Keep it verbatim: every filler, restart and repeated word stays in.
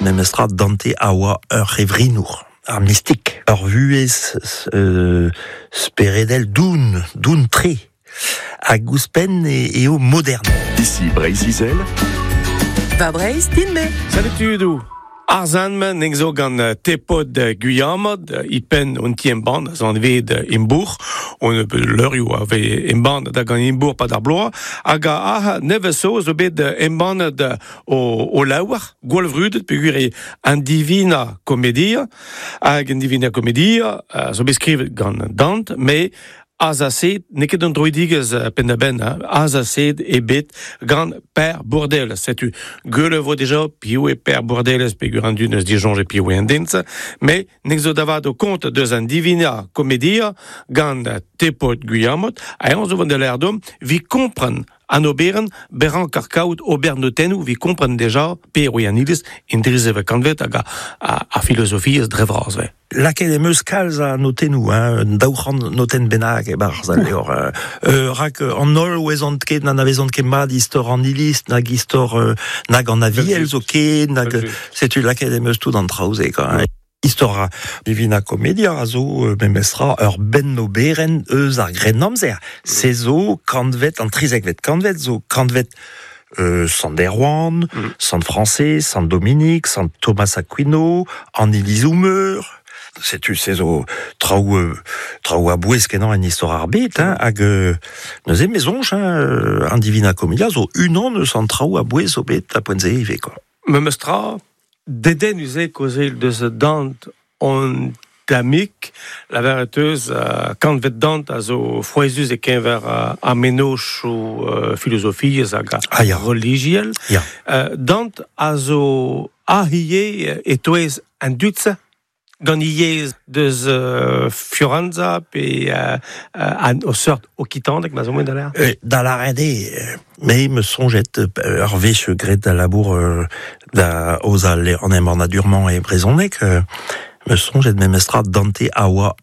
memestra Dante a oa ur revrinour, ar mistik. Ur vuhez euh, speredel doun, doun tre. Hag ouzhpenn e, eo modern. Ici Breizh-Izel. Va Breizh, din-me. Salut tudou. Ar zan-men eng zo gant tepod Guyamod, ipen un ti embann, a zan ved imbourg, on leurioù a ve embann da gant imbourg pa d'ar bloaz, hag a ah nevez zo zo bet embannet o, o laouar, gwall vrudet, peogwir eo an Divina Commedia, hag an Divina Commedia zo bet skrivet gant Dante, me azaset, n'eo ket an droidigezh penn-da-benn, hein, azaset eo bet gant Per Bourdelles. Setu, gwell vo deja piv eo Per Bourdelles peogwir an dud neus disoñjet piv eo an den-se, met nek zo da vat o kont deus an Divina Commedia gant Tepod Gwilhamot, ha eñ zo vont da lâret deomp vi kompren an oberenn beran kar kaout ober notennoù vi kompren deja per eo an iliz en drizeve kantved hag a, a, a filozofiezh dre vras ve. Lakaet em eus kalz a notennoù, hein, un daou c'hant notenn bennak e-barzh al levr. Euh, rak an holl ouezont ket n'anavezont ket mat istor an iliz, nag istor euh, nag an aviel zo ket, nag setu lakaet em eus tout an traoù-se, quoi, hein. Istor a Divina Commedia a zo euh, memestra ur benn-oberenn eus ar Grennamzer. Se zo kantved, an trizekvet kantved zo kantved euh, Sant Erwan, Mm. Sant Frañsez, Sant Dominique, Sant Thomas Aquino, an Ilizoù Meur. Setu se zo traoù, euh, traoù a bouez kenañ en istor ar bed, hein, hag euh, neuze me soñj, hein, euh, an Divina Commedia zo unan eus an traoù a bouez zo bet a poent-se ivez, quoi. Memestra, dedennus eo kaozeal deus Dante on damik, lavaret eus uh, kantved Dante a zo frouezhus e-keñver uh, ar mennozhioù uh, filozofiezh hag a Ah, ya. relijiel. Ya. Uh, Dante a zo ahie e-touez an dud-se gant yezh deus uh, Fiorenza pe uh, uh, an o seurt okitanek ma zo moen da lâret. Euh, da lâret eo, me me soñjet euh, ur wech graet da labour euh, da oza le an embannadur-mañ e brezhoneg, euh, me soñjet memestra Dante a oa